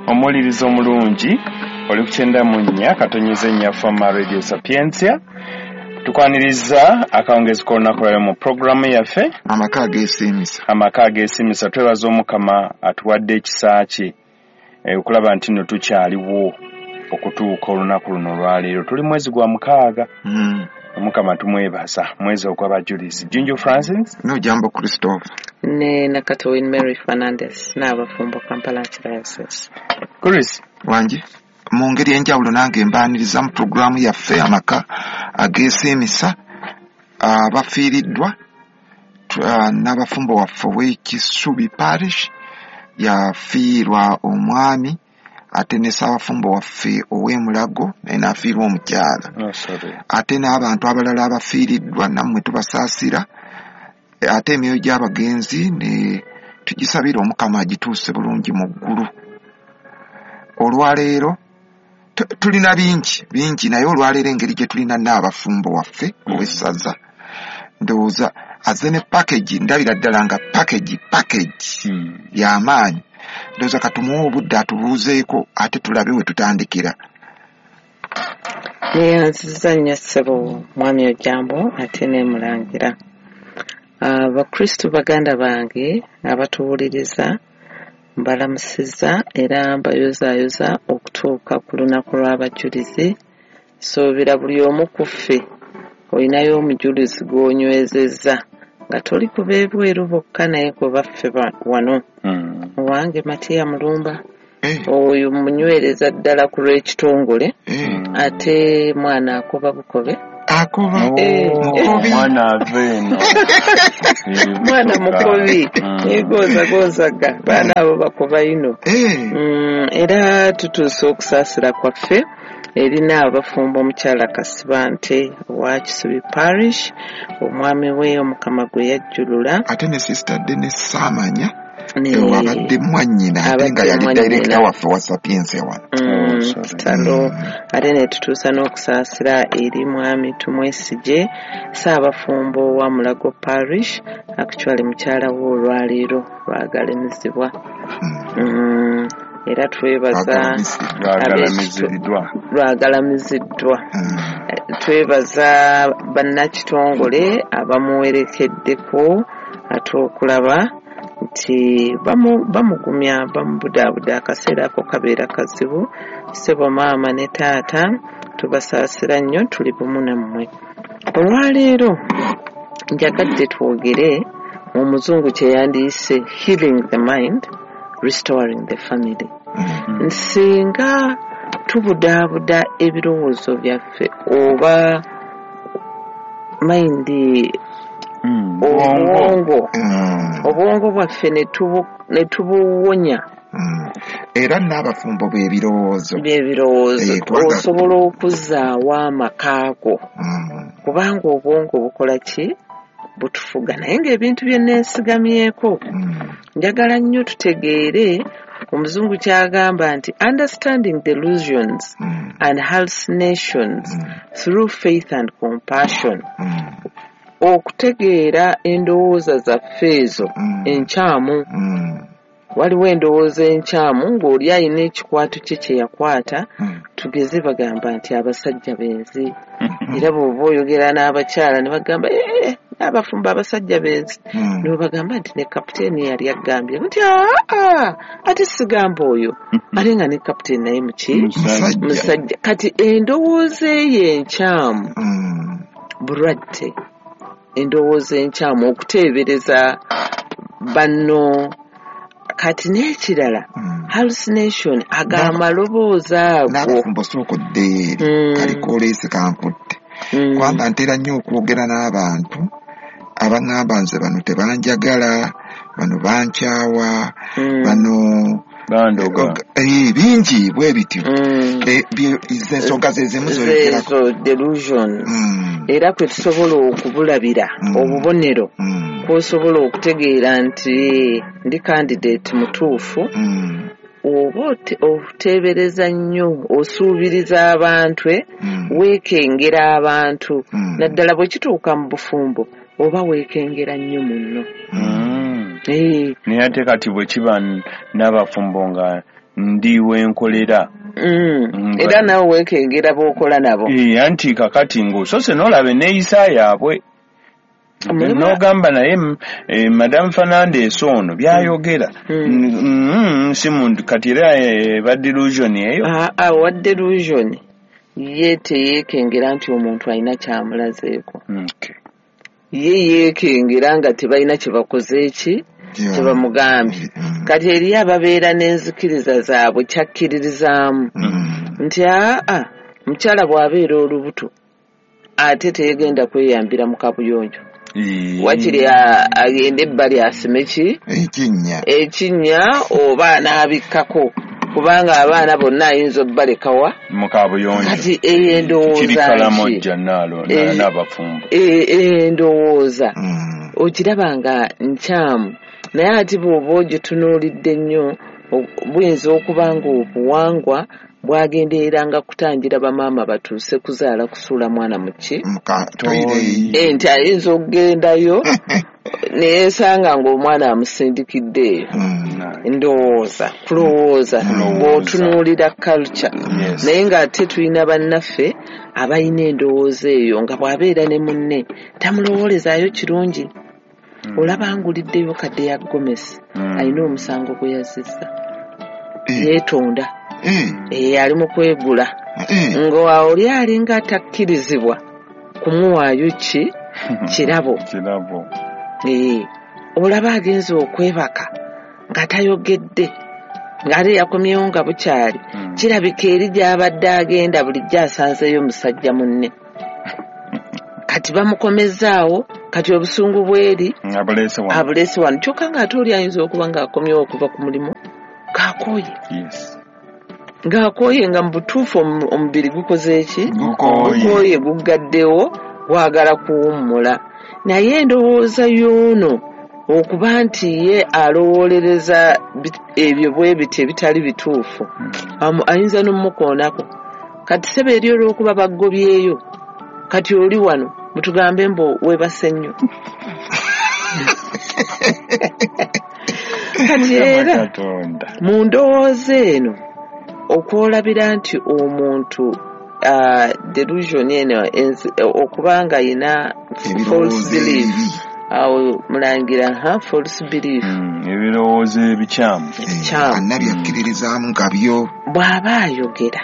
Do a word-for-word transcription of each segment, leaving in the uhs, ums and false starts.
Omuwuliriza omulungi, oli ku kyenda mu nnya katonyeza ennya Fama Radio Sapientia. Tukwaniriza akawungezi k'olunaku lwaleero mu puroguramu yaffe Amaka Ageesiimisa. Amaka Ageesiimisa. Twebaza Omukama atuwadde ekisa kye eh, okulaba nti nno tukyaliwo okutuuka olunaku luno olwaleero. Tuli mwezi gwa mukaaga. Mm. Omukama tumwebaza, mwezi ogw'abajulizi. Junju Francis. No jambo Christopher. Ne Nakato Win Mary Fernandez n'abafumbo Kampala Archdiocese. Chris. Wangi, mu ngeri enjawulo nange mbaaniriza mu puroguramu yaffe Amaka Ageesiimisa. Abafiiriddwa, ah, n'abafumbo waffe ow'Ekisubi Parish yafiirwa omwami, ate ne ssaabafumbo waffe ow'Emulago naye n'afiirwa omukyala. Oh, sorry. Ate n'abantu abalala abafiiriddwa nammwe tubasaasira, ate emyoyo gy'abagenzi ne tugisabira Omukama agituuse bulungi mu ggulu. Olwaleero tu- tulina bingi bingi, naye olwaleero engeri gye tulina n'abafumbo waffe ow'essaza, ndowooza azze ne package, ndabira ddala nga package package Hmm. y'amaanyi. Ndowooza katumuwe obudde atubuuzeeko, ate tulabe we tutandikira. Neyanziza nnyo ssebo mwami Ojambo, ate nemulangira. Abakristu baganda bange abatuwuliriza, mbalamusizza era mbayozaayoza okutuuka ku lunaku lw'abajulizi. Suubira buli omu ku ffe olinayo omujulizi gw'onywezezza nga toli ku b'ebweru bokka, naye ku baffe ba- wano. Hmm. Owange Matiya Mulumba, Eh, oyo munywereza ddala ku lw'ekitongole, eh, ate mwana akoba bukobe. Akoba. Oh, Eh. Mukobi. Mwana ava eno. Mwana mukobi. Mm. Yegozagozaga, baana abo bakoba ino. Eh, Mm, era tutuuse okusaasira kwaffe erina abafumbo omukyala Kasibante owa Kisubi Parish, omwami we Omukama gwe yajjulula. Ate ne Sister Denis Saamanya ne- abadde mwannyina, ate nga Abadde yali mwannyina. director waffe wa Sapientia wano. Mm, Oh, sorry. Kitalo. Ate ne tutuusa n'okusaasira eri mwami Tumwesige, Ssaabafumbo wa Mulago Parish, actually mukyala we olwaleero lwagalamizibwa. Mm. Mm, era twebaza Lwagalamiziddwa. Lwagalamiziddwa. Lwagalamiziddwa. Mm. Twebaza bannakitongole abamuwerekeddeko, ate okulaba nti bamu- bamugumya, bamubudaabuda. Akaseera ako kabeera kazibu. Ssebo maama ne taata, tubasaasira nnyo, tuli bumu nammwe. Olwaleero njagadde twogere mu muzungu kye yandiyise healing the mind, restoring the family. Mm. Singa tubudaabuda ebirowoozo byaffe oba mind, Hmm. Bwongo. obwongo, Mm. obwongo bwaffe ne tubu- ne tubuwonya. Mm. Era n'abafumbo b'ebirowoozo. Byebirowoozo. Eh, kubanga- Osobola okuzzaawo amaka go, Mm. kubanga obwongo bukola ki? Butufuga. Naye ng'ebintu bye neesigamyeko, Mm. njagala nnyo tutegeere omuzungu ky'agamba nti understanding delusions Mm. and hallucinations Mm. through faith and compassion. Mm. Okutegeera endowooza zaffe ezo Mm. enkyamu. Mm. Waliwo endowooza enkyamu ng'oli alina ekikwato kye kye yakwata. Mm. Tugeze bagamba nti abasajja benzi, era bw'oba oyogera n'abakyala ne bagamba, "Eh, n'abafumbo abasajja benzi." Mm. N'obagamba nti ne kapiteeni yali agambye nti aa, ate sigamba oyo, ate nga ne kapiteeni naye muki? Musajja. Musajja. Kati endowooza eyo enkyamu Mm. bulwadde. Endowooza enkyamu, okuteebereza banno. Kati n'ekirala, Mm. hallucination, ago amaloboozi ago. N'abafumbo, sooka odde eri. Mm. Kaliko oleese kankutte, Mm. kubanga ntera nnyo okwogera n'abantu abaŋŋamba, "Nze bano tebanjagala, bano bankyawa, Mm. bano Bandoga. Eh, bingi bwe bityo." Mm. Eh, bye- ze ensonga ze zimu zoyogerako. Zeezo delusions. Mm. Era kwe tusobola okubulabira Mm. obubonero Mm. kwosobola okutegeera nti ndi candidate mutuufu, Mm. oba ote- oteebereza nnyo, osuubiriza abantu, eh, Mm. weekengera abantu, Mm. naddala bwe kituuka mu bufumbo, oba weekengera nnyo munno. Mm. Eh, Naye ate kati bwe kiba n- n'abafumbo nga Ndi wenkolera. Mm. Era nawe weekengera b'okola nabo. Eh, anti kakati ng'osose n'olaba enneeyisa yaabwe. N'ogamba naye eh, Madam Fernandes ono byayogera Mm. mm, si muntu kati era eh, ba delusion eyo. Ah, ah, wa delusion ye teyeekengera nti omuntu alina kyamulazeeko. Okay. Ye yeekengera nga tebalina kye bakoze ki Yeah. kye bamugambye. Mm. Kati eriyo ababeera n'enzikiriza zaabwe kyakkiririzaamu Mm. nti aa mukyala bw'abeera olubuto ate teyegenda kweyambira mu kabuyonjo, Eh, wakiri a- agende ebbali asime ki Ekinnya. ekinnya oba anaabikkako, kubanga abaana bonna ayinza obbalekawa mu kabuyonjo. Kati eyo endowooza Kiri ki? Kalamojja naalo Eh, n'abafumbo. E- eyo endowooza Mm. ogiraba nga nkyamu, naye ate bw'oba ogitunuulidde nnyo o- buyinza okuba nga obuwangwa bwagendereranga kutangira bamaama batuuse kuzaala kusuula mwana mu ki Muka toilet. Eh, nti ayinza okugendayo neyeesanga ng'omwana amusindikidde eyo. Mm. Ndowooza kulowooza Kulowooza. bw'otunuulira culture, Yes. naye ng'ate tulina bannaffe abalina endowooza eyo nga bw'abeera ne munne tamulowoolezaayo kirungi. Mm. Olaba nguliddeyo kadde ya Gomesi Mm. alina omusango gwe yazizza, Eh, yeetonda, eh, eh, ali mu kwegula eh. nga oli alinga atakkirizibwa kumuwaayo ki kirabo. Kirabo. Eh, olaba agenze okwebaka nga tayogedde, ng'ate yakomyewo nga bukyali. Mm. Kirabika eri gy'abadde agenda bulijjo asanzeeyo musajja munne, kati bamukomezaawo, kati obusungu bweri Abuleese wano. abuleese wano, kyokka ng'ate oli ayinza okuba ng'akomyewo okuva ku mulimu ng'akooye, Yes. ng'akooye nga mu butuufu omu- omubiri gukoze ki? Gukooye. Gukooye, guggaddewo, gwagala kuwummula. Naye endowooza y'ono okuba nti ye alowoolereza bi- ebyo bwe biti ebitali bituufu, Mm. amu- ayinza n'omukoonako. Kati ssebo eri olw'okuba baggobyeyo, kati oli wano mutugambe mbu weebase nnyo. Kati era Katonda. mu ndowooza eno okwolabira nti omuntu ah, delusion eno enzi- okuba nga ayina false Ebirowoozo belief, ebibi. awo mulangira ha false belief, Mm, ebirowoozo ebikyamu. Eh, ebikyamu. Anna byakkiririzaamu nga byo. Bw'aba ayogera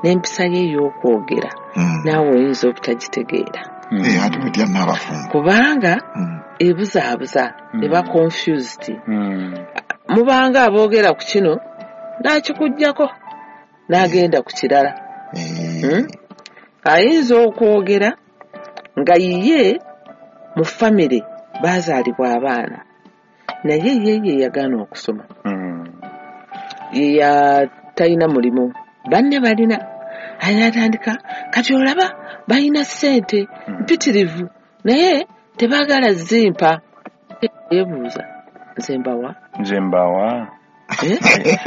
n'empisa ye ey'okwogera, Mm. naawe oyinza obutagitegeera, Mm. Eh, ate otya n'abafumbo. kubanga Mm. ebuzaabuza, Mm. eba confused. Mm. Mubanga aboogera ku kino n'akikuggyako n'agenda ku kirala. Eh, Mm? Ayinza okwogera nga ye mu famire baazaalibwa abaana, naye ye ye yagaana okusoma, Mm. ye ya talina mulimu, banne balina, atandika kati olaba balina ssente Mm. mpitirivu naye tebaagala zimpa. Yeebuuza nze mbawa? Nze mbawa. Eh?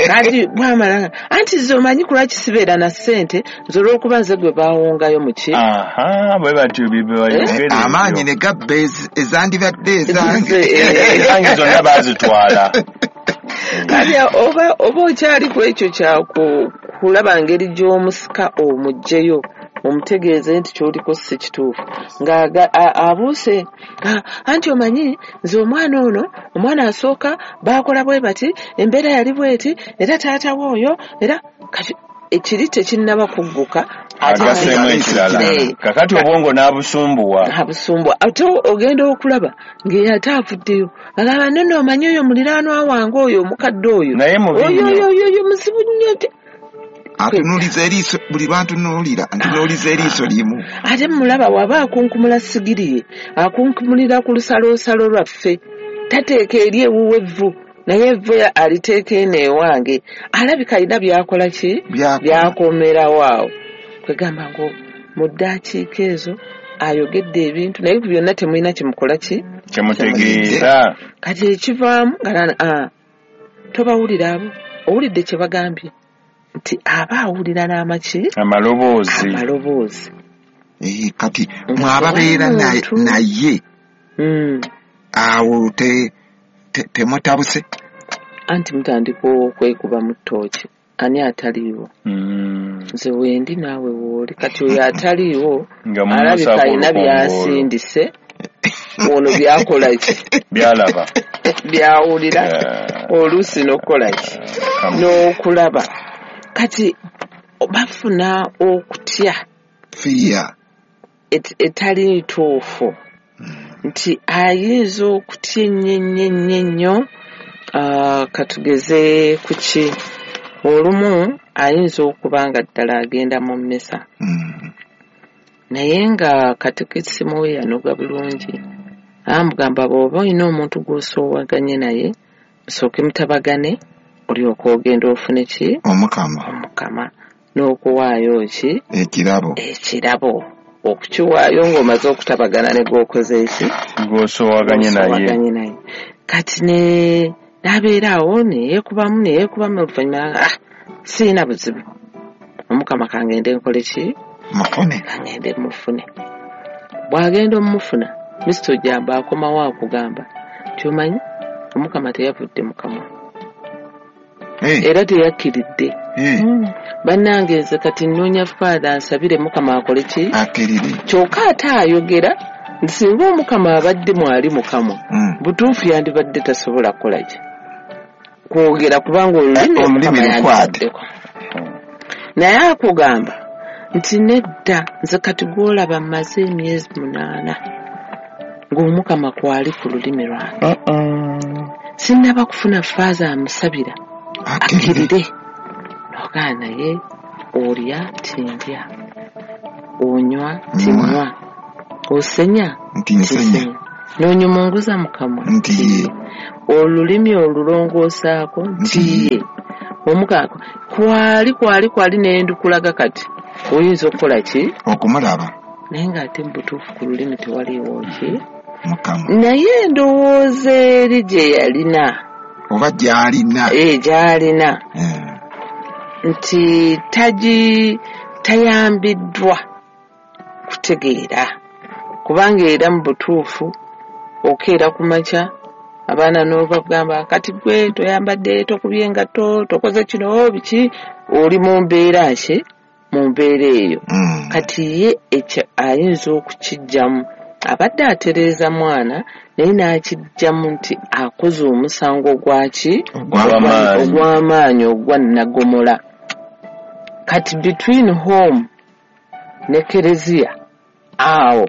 Kati bwamala anti nze omanyi kulwaki sibeera na ssente, nze olw'okuba nze gwe baawongayo mu ki? Aha, bwe batyo bye bayogera. Amaanyi ne gabba ez- ezandibadde ezange. Ezize, eh, Ezange zonna baazitwala. Kati oba oba okyali ku ekyo kya ku- kulaba ngeri gy'omusika omuggyeyo omutegeeze nti ky'oliko si kituufu, ng'aga- a- abuuse, "Ah, anti omanyi nze omwana ono, omwana asooka baakola bwe bati, embeera yali bweti, era taata we oyo, era kati ekiri tekinnaba kugguka, ate Agaseemu Ate ekirala. Eh. Kakati obwongo n'abusumbuwa. Abusumbuwa, ate ogenda okulaba ng'ate avuddeyo agamba nno omanyi oyo muliraanwa wange oyo omukadde oyo Naye mubi oyo nnyo. oyo oyo oyo muzibu nnyo te- Atunuuliza eriiso buli lwantunuulira ntunuuliza eriiso limu. Ate mulaba waba akunkumula sigiri ye, akunkumulira ku lusaloosalo lwaffe, tateeka eri ewuwe evvu, naye evvu aliteeka eno ewange, alabika alina byakola ki Byakola. byakomerawo awo. Kwegamba ngo mu ddakiika ezo ayogedde ebintu naye ku byonna temulina kyemukola ki Kyemutegeeza. Kati ekivaamu nga nana, ah, tobawulira abo, owulidde kye bagambye nti aba awulira n'amaki Amaloboozi. Amaloboozi. Eh, kati mwababeera naye- Omuntu. naye Mm. awo te- te- temutabuse. Anti mutandika okwekuba mu ttooki. Ani ataliiwo? Mm. Nze wendi naawe wooli. Kati oyo ataliiwo Nga alabika mumusaako alina olukongoolo. byasindise, ono byakola ki? Byalaba. Byawulira, Eh, oluusi n'okukola ki? Kamu. N'okulaba. Kati bafuna okutya Fear. et- etali ntuufu, nti ayinza okutya ennyo ennyo ennyo ennyo. Ah, katugeze ku ki, olumu ayinza okuba nga ddala agenda mu mmisa, Mm. naye nga katekisimu we yanoga bulungi, amugamba bw'oba olina omuntu gw'osoowaganye naye musooke mutabagane, olyoke ogenda ofune ki? Omukama. Omukama, n'okuwaayo ki? Ekirabo. Ekirabo, okukiwaayo ng'omaze okutabagana ne gw'okoze eki? Gw'osoowaganye naye. Gw'osoowaganye naye. Kati ne n'abeera awo neyeekubamu neyeekubamu, oluvannyuma ah, siina buzibu, Omukama kangende nkole ki? Mufune. Kangende mufune. Bw'agenda omufuna, Mister Ojambo akomawo akugamba nti omanyi Omukama teyavudde mu kamwa. Hey. Era teyakkiridde. Hey. Bannange nze kati nnoonya Father ansabire Mukama akole ki? Akkirire. Kyokka ate ayogera nti singa Omukama abadde mwali mu kamwa, Mm. butuufu yandibadde tasobola kukola ki? Kwogera, kubanga olulimi Eh, olulimi Omukama lukwate. yandibaddeko. Naye akugamba nti nedda, nze kati gw'olaba mmaze emyezi munaana ng'Omukama kwali ku lulimi lwange. Uh-uh. Sinnaba kufuna Father amusabira Akkirire. akkirire. N'ogaa naye olya tindya, onywa tinywa, osenya Nti nsenya. tisenya, n'onyumunguza mu kamwa Nti ye. olulimi olulongoosaako nti ye. Omukama kwali kwali kwali n'endukulaga, kati oyinza okukola ki? Okumulaba. Naye ng'ate mu butuufu ku lulimi tewaliiwo ki? Mukama. Naye endowooza eri gye yalina, Oba gy'alina. Eh, gy'alina Eh. nti tagi tayambiddwa kutegeera, kubanga era mu butuufu okeera ku makya abaana n'obagamba kati gwe toyambadde, tokubye engatto, tokoze kino biki, oli mu mbeera ki? Mu mbeera eyo. Mm. Kati ye ekyo ayinza okukiggyamu, abadde atereeza mwana naye n'akiggyamu nti akoze omusango gwaki? Ogw'amaanyi. Ogw'amaanyi, ogwa nnagomola. Kati between home ne kereziya awo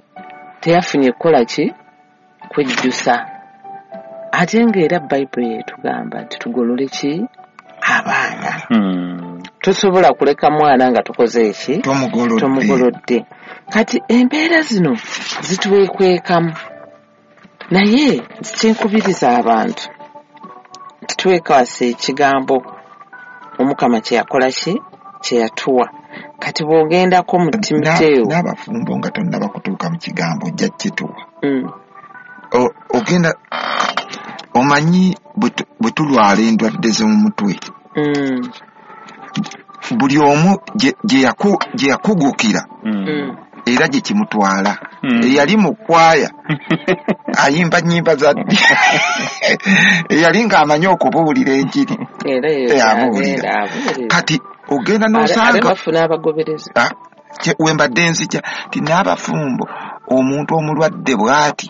teyafunye kukola ki? Kwejjusa. Ate ng'era Bayibuli etugamba nti tugolole ki? Abaana. Mm. Tosobola kuleka mwana nga tukoze eki? Tomugolodde. Tomugolodde. Kati embeera zino zitwekwekamu, naye kyenkubiriza abantu nti twekwasa ekigambo Omukama kye yakola ki? Kye yatuwa. Kati bw'ogendako mu Timoteewo, N'abafumbo nga tonnaba kutuuka mu kigambo ojja kituwa. Mm. O- ogenda omanyi bwe tu- bwe tulwala endwadde z'omutwe, Mm. buli omu gye, gye yaku-, gye yakugukira Mm. Mm. era gye kimutwala. Mm. Eyali mu kwaya ayimba nnyimba za ddi, eyali ng'amanyi okubuulira enjiri, Era eyo Eh, abuulira. agenda abuulira. Kati ogenda Ate- ate n'osanga bafuna abagoberezi. Ah, kye, we mbadde nzija nti n'abafumbo omuntu omulwadde bw'ati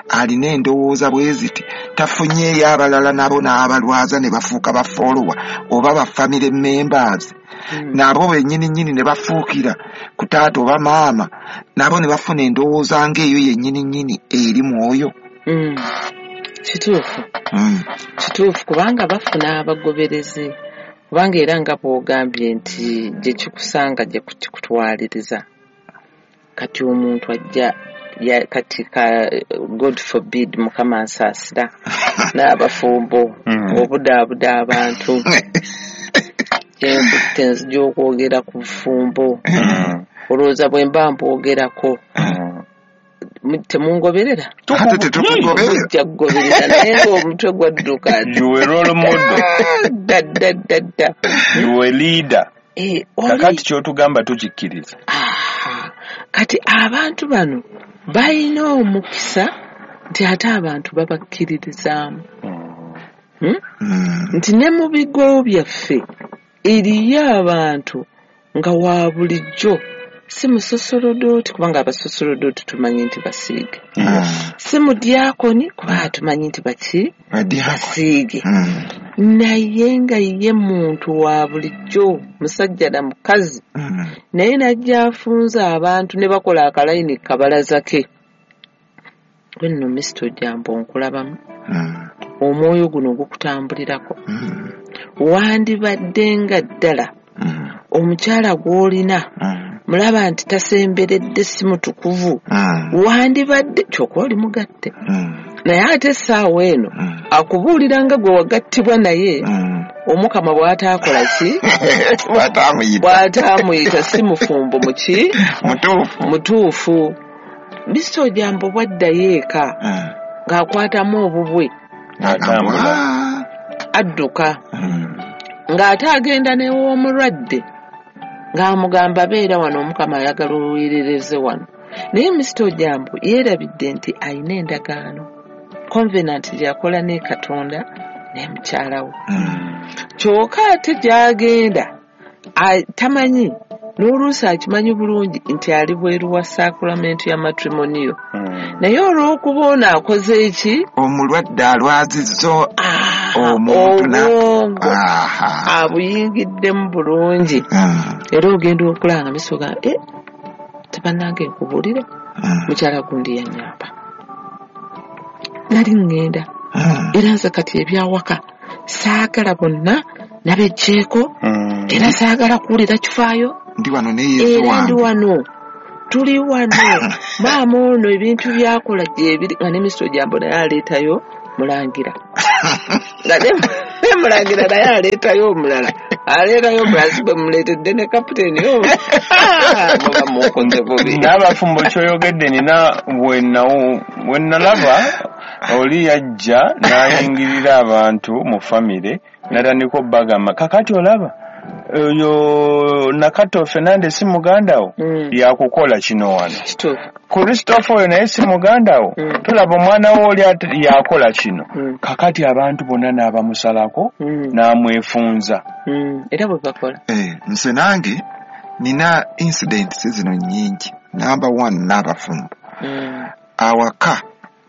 alina endowooza bwe ziti, tafunyeeyo abalala nabo n'abalwaza ne bafuuka ba follower oba ba family members. Mm. Nabo bennyini nnyini ne bafuukira ku taata oba maama, nabo ne bafuna endowooza ng'eyo yennyini nnyini eri mwoyo. Mm. Kituufu. Mm. Kituufu, kubanga bafuna abagoberezi, kubanga era nga bw'ogambye nti gye kikusanga gye kikutwaliriza. Kati omuntu ajja ya, kati ka, God forbid, Mukama nsaasira n'abafumbo Mm. obudaabuda abantu. Kyenkutte nzija okwogera ku bufumbo. Mm. Olowooza bwe mba mbwogerako, Mm. mu-, temungoberera? Ate tetukugoberera. Mujja kugoberera, naye ng'omutwe gwadduka. You were role model. Dda, dda, dda, dda. You were leader. Eh, oli Kakati ky'otugamba tukikkiriza. Aha. Kati abantu bano balina omukisa nti ate abantu babakkiririzaamu. Mm. Hmm? Mm. Nti ne mu bigo byaffe Eriyo abantu nga wa bulijjo si musosolodooti, kubanga abasosolodooti tumanyi nti basiige. Mm. Si mudyakoni, kubanga tumanyi nti baki basiige. Mm. Naye nga ye muntu wa bulijjo, musajja na mukazi. Mm. Naye n'ajja afunza abantu ne bakola akalayini kabalaza ke. Gwe nno Mister Ojambo nkulabamu. Mm. Omwoyo guno gukutambulirako. Mm. Wandibadde nga ddala Mm. omukyala gw'olina Mm. mulaba nti tasemberedde, si mutukuvu. Mm. Wandibadde kyokka oli mugatte. Mm. Naye ate essaawa eno Mm. akubuulira nga gwe wagattibwa naye Mm. Omukama bw'ataakola ki? Bw'ataamuyita. Bw'ataamuyita si mufumbo muki? Mutuufu. Mutuufu. Mister Ojambo bw'addayo eka Mm. ng'akwatamu obubwe. Atambula. Adduka. Mm. Ng'ate agenda n'ew'omulwadde ng'amugamba beera wano, Omukama ayagala oweerereze wano. Naye Mister Ojambo yeerabidde nti alina endagaano, covenant gy'akola ne Katonda ne mukyala we. Mm. Kyokka ate gy'agenda a-, tamanyi, n'oluusi akimanyi bulungi nti ali bweru wa sacrament ya matrimonio. Mm. Naye olw'okuba ono akoze eki? Omulwadde alwazizza Ah, omuntu na- obwongo Aha. abuyingiddemu bulungi. Mm. Era ogenda okulaba nga miso ga, eh, tebannange nkubuulire, Mm. mukyala gundi yannyamba. Nali ŋŋenda. Mm. Era nze kati ebyawaka saagala bonna nabeggyeko, Mm. era saagala kuwulira kifaayo. Ndi wano ne Yesu Era ndi wange. wano. Tuli wano. Maama ono ebintu by'akola gyebiri, nga ne Mister Ojambo naye aleetayo mulangira. Nga ne, ne mulangira naye aleetayo omulala. Aleetayo omulala, si bwe muleetedde ne kapiteeni oyo. Ah, muba munkoze bubi. N'abafumbo ky'oyogedde nina we nawo, we nalaba oli yajja n'ayingirira abantu mu famire n'atandika obbagamba, kakati olaba oyo Nakato Fernandez si muganda wo? Mm. Yakukola kino wano. Kituufu. Christopher oyo naye si muganda wo? Mm. Tolaba omwana wo oli ate yakola kino. Mm. Kakati abantu bonna n'abamusalako, Mm. n'amwefunza. Mm. Era bwe bakola. Eh, nze nange nina incidents zino nnyingi. Number one, n'abafumbo. Mm. Awaka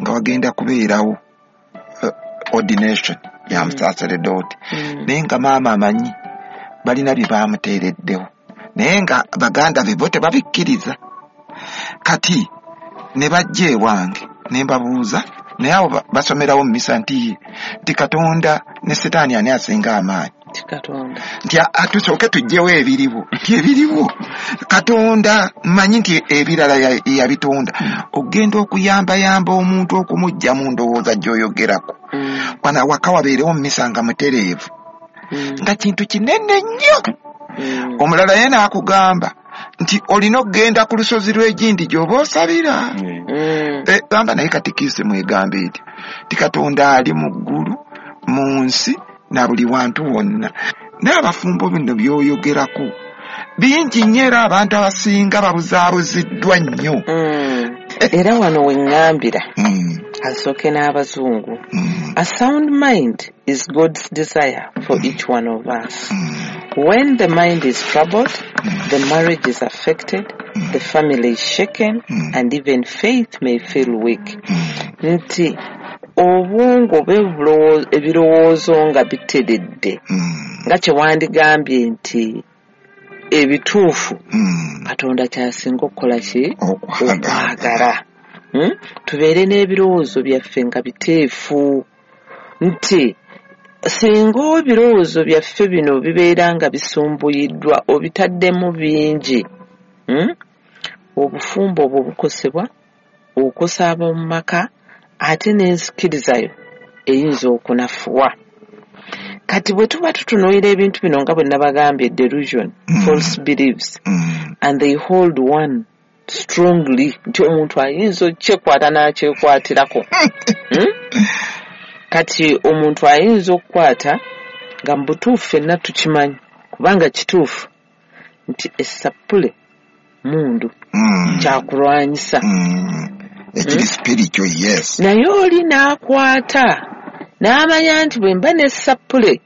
nga wagenda kubeerawo, eh, ordination ya Mm. musaseredooti. Mm. Naye nga maama amanyi balina bye baamuteereddewo, naye nga baganda be bo tebabikkiriza. Kati ne bajja ewange ne mbabuuza, naye abo ba-, basomerawo mu misa nti, nti Katonda ne Setaani ani asinga amaanyi? Nti Katonda. Nti a-, a-, tusooke tuggyewo ebiriwo. Nti ebiriwo Katonda mmanyi nti ebirala ya-, yabitonda. Ogenda okuyambayamba omuntu okumuggya mu ndowooza gy'oyogerako. Mm. Wano awaka wabeerewo mu misa nga mutereevu. Mm. Nga kintu kinene nnyo. Mm. Omulala ye n'akugamba nti olina okugenda ku lusozi lw'egindi gy'oba osabira. Mm. Mm. Eh, gamba naye katikisimu egamba eti nti Katonda ali mu ggulu, mu nsi, na buli wantu wonna. N'abafumbo bino by'oyogerako bingi nnyo, era abantu abasinga babuzaabuziddwa nnyo. Mm. Era wano we ŋŋambira, Mm. asooke n'abazungu. Mm. A sound mind is God's desire for each one of us. Mm. When the mind is troubled, Mm. the marriage is affected, Mm. the family is shaken, Mm. and even faith may feel weak. Mm. Nti obwongo bwe ebirowoozo nga biteredde, Mm. nga kye wandigambye nti ebituufu, Mm. Katonda ky'asinga okukola ki? Okwagala. Okwagala. Hmm? Tubeere n'ebirowoozo byaffe nga biteefu, nti singa ebirowoozo byaffe bino bibeera nga bisumbuyiddwa, obitaddemu bingi, hmm? Obufumbo obwo bukosebwa, okosa ab'omu maka, ate n'enzikirizayo eyinza okunafuwa. Kati bwe tuba tutunuulira ebintu bino nga bwe nabagambye, delusion, Mm. false beliefs, Mm. and they hold one strongly, nti omuntu ayinza okukyekwata n'akyekwatirako. Hmm? Kati omuntu ayinza okukwata nga mu butuufu ffenna tukimanyi, kubanga kituufu nti essapule mundu Mm. kyakulwanyisa. Mm. Ekiri Hmm? spiritual, yes. Naye oli n'akwata n'amanya nti bwe mba n'essapule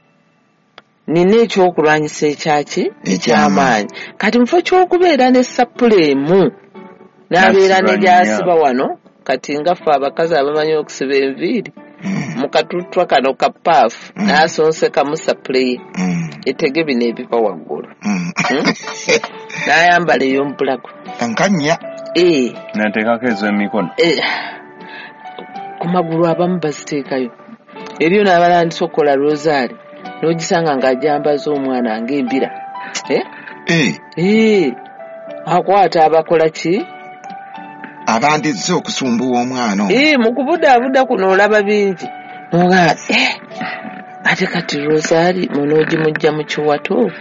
Nina ekyokulwanyisa ekyaki? Ekyamaanyi. Kati mufo ky'okubeera ne sappule emu n'abeera ne gy'asiba wano, kati nga ffe abakazi abamanyi okusiba enviiri Mm. mu katuttwa kano ka paafu Mm. n'asonsekamu sappule ye Mm. etege bino ebiva waggulu, Mm. Hmm? N'ayambala ey'omubulago. Nkanya. Ee. Nateekako ez'emikono. Eh, ku magulu abamu baziteekayo eriyo n'abalandisa okukola rosaali n'ogisanga ng'ajambaza omwana ng'embira. Eh? Eh, Eh, akwata abakola ki? Abandizze okusumbuwa omwana ono. Eh, mu kubudaabuda kuno olaba bingi nogaa, eh, ate kati rosaali munoogimujja mu kiwato.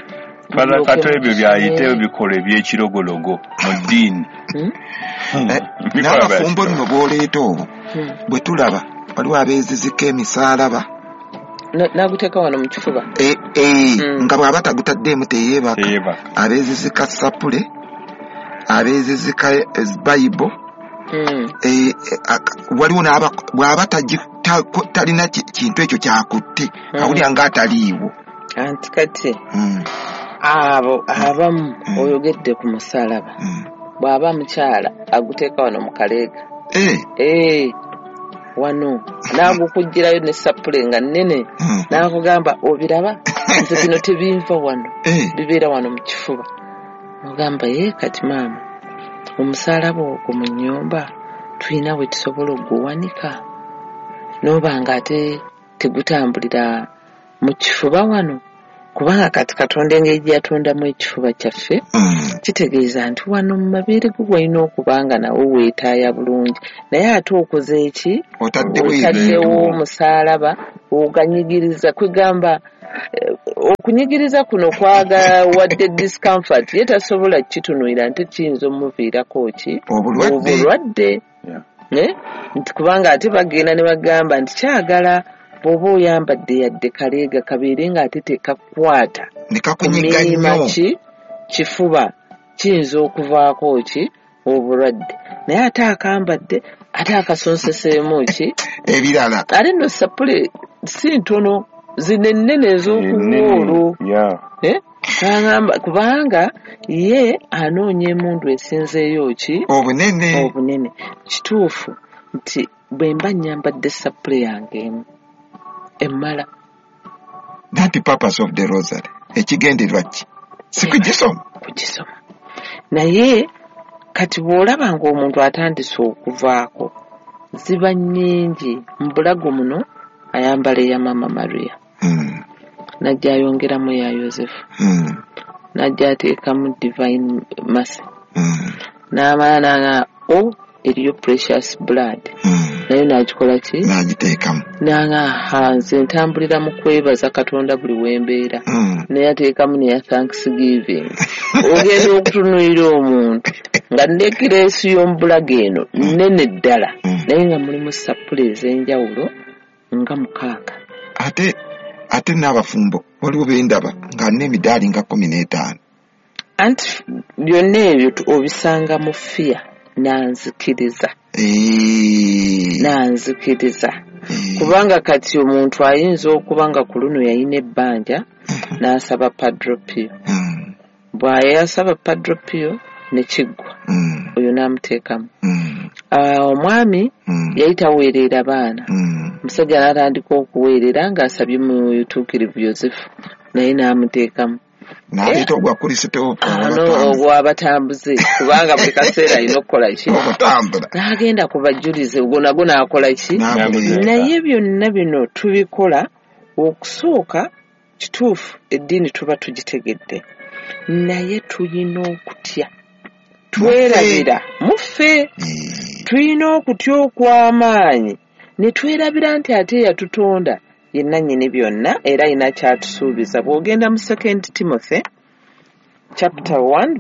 Father Kato, ebyo byayiteyo Mulyoke bikola ebyekirogologo mu ddiini. Hmm? Eh, Bikola bya n'abafumbo kirogologo. nno bw'oleeta obwo Hmm. bwe tulaba waliwo abeezizika emisalaba. Na- N'aguteeka wano mu kifuba. Eh, eh, Mm. nga bw'aba tagutaddeemu teyeebaka. Teyeebaka. Abeezizika sapule, abeezizika eh, bayibo. Hmm. Eh, eh, ak- waliwo n'aba bw'aba tagi- ta- talina ki- kintu ekyo kyakutte, Mm. awulira ng'ataliiwo. Anti kati Mm, abo abamu Mm. oyogedde ku musalaba, mm. bw'aba mukyala aguteeka wano mu kaleega. Eh, Eh, wano n'agukugirayo ne sappule nga nnene, mm, n'akugamba, obiraba nze bino tebinva wano, eh, bibeera wano mu kifuba. Ogamba, ye kati maama, omusalaba ogwo mu nnyumba tulina we tusobola okuguwanika n'oba nga ate tegutambulira mu kifuba wano, kubanga kati Katonda engeri gye yatondamu ekifuba kyaffe, mm. kitegeeza nti wano mu mabeere go walina okuba nga nawo weetaaya bulungi, naye ate okoze eki? Otaddewo otaddewo ebintu. Omusaalaba oganyigiriza, kwegamba eh, okunyigiriza kuno kwagawadde discomfort, ye tasobola kukitunuulira nti kiyinza omuviirako ki? Obulwadde. Obulwadde. Yeah. Eh? Nti kubanga ate bagenda ne bagamba nti kyagala bw'oba oyambadde yadde kaleega kabeere ng'ate tekakwata ne kakunyiga kumiima nnyo. Ki kifuba kiyinza okuvaako ki? Obulwadde. Naye ate akambadde ate akasonseseemu ki? Ebirala. Ate nno sapule si ntono, zino ennene ez'okuwoolo. Yeah. Eh? N'agamba kubanga ye anoonya emundu esinzeeyo ki? Obunene. Obunene. Kituufu nti bwe mba nnyambadde sapule yange emu emmala. That purpose of the rosary, ekigendererwa ki? Si kugisoma? Kugisoma. Naye kati bw'olaba ng'omuntu atandise okuvaako, ziba nnyingi. Mu bulago muno ayambala eya Maama Maria, Mm, n'ajja ayongeramu eya Yosefu, mm, n'ajja ateekamu Divine Mercy, mm, n'amala n'aŋa o eriyo Precious Blood, mm. nayo n'agikola ki? N'agiteekamu. N'aŋa ha nze ntambulira mu kwebaza Katonda buli wembeera, Mm. naye ateekamu neya Thanksgiving. Ogenda okutunuulira omuntu nga nekireesi y'omubulago eno nnene ddala, Mm. naye nga mulimu sappule ez'enjawulo nga mukaaga. Ate ate n'abafumbo waliwo bendaba nga n'emidaali nga kkumi n'etaano. Anti byonna ebyo tu- obisanga mu fiya nanzikiriza. Eh, Nanzikiriza. eh, Kubanga kati omuntu ayinza okuba nga ku luno yalina ebbanja n'asaba Padre Pio, mm, bw'ayasaba Padre Pio ne kiggwa, mm, oyo n'amuteekamu. mm, Ah, omwami mm, yali taweerera baana, mm. omusajja n'atandika okuweerera ng'asabye Mutuukirivu Yosefu, naye n'amuteekamu. N'aleeta ogwa Kristo. Ano ogw'abatambuze, kubanga buli kaseera alina okukola ki? Okutambula. N'agenda ku bajulize, ogwo nagwo n'akola ki? N'aguleeta. Naye byonna bino tubikola okusooka kituufu eddiini tuba tugitegedde, naye tulina okutya, twerabira muffe. Eh, Tulina okutya okw'amaanyi ne twerabira nti ate yatutonda ye nannyini byonna, era alina kyatusuubiza. Bw'ogenda mu Second Timothy chapter one